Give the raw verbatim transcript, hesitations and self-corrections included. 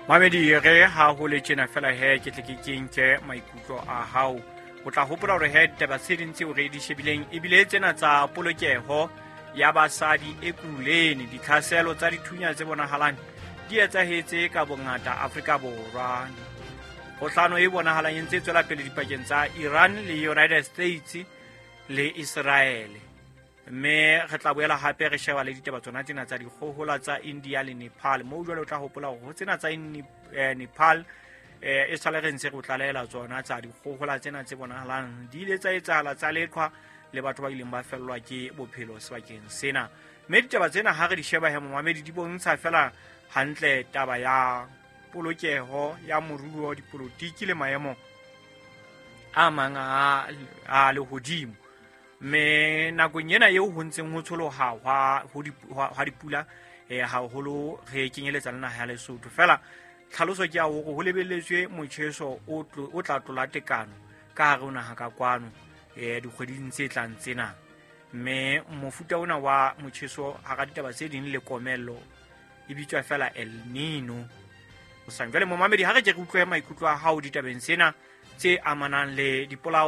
Mamedi, re ha ho le tjena fela he, ke tle ke ke nke maikutlo a hao. O tla hopola hore he ditaba tse ding tseo re di shebileng ebile tsena tsa polokeho ya basadi Ekurhuleni, ditlhaselo tsa dithunya tse bonahalang di etsahetse ka bongata Afrika Borwa, kgohlano e bonahalang e ntse e tswela pele dipakeng tsa Iran le United States le Israel. Mme re tla boela hape re sheba le ditaba tsona tsena tsa dikgohola tsa India le Nepal, moo jwale o tla hopola hore ho tsena tsa eh, Nepal eh, e sale re ntse re o tlalehela tsona tsa dikgohola tsena tse bonahalang di ile tsa etsahala tsa leqhwa le batho ba ileng ba fellwa ke bophelo sebakeng sena. Mme ditaba tsena ha re di sheba he momamedi, di bontsha fela hantle taba ya polokeho ya moruo, dipolotiki le maemo a mang a, a lehodimo. Mme nakong ena eo ho ntseng ho tsholoha hwa ho di- hwa hwa dipula eh, haholo re kenyeletsa le naha ya Lesotho fela. Tlhaloso ke ya hore ho lebelletswe motjheso o tlo- o tla tlola tekano ka hare ho naha ka kwano eh, dikgweding tse tlang tsena. Mme mofuta ona wa motjheso hara ditaba tse ding le komello e bitswa fela El Nino. Jwale momamedi, ha re ke re utlwe maikutlo a hao ditabeng tsena tse amanang le dipolao.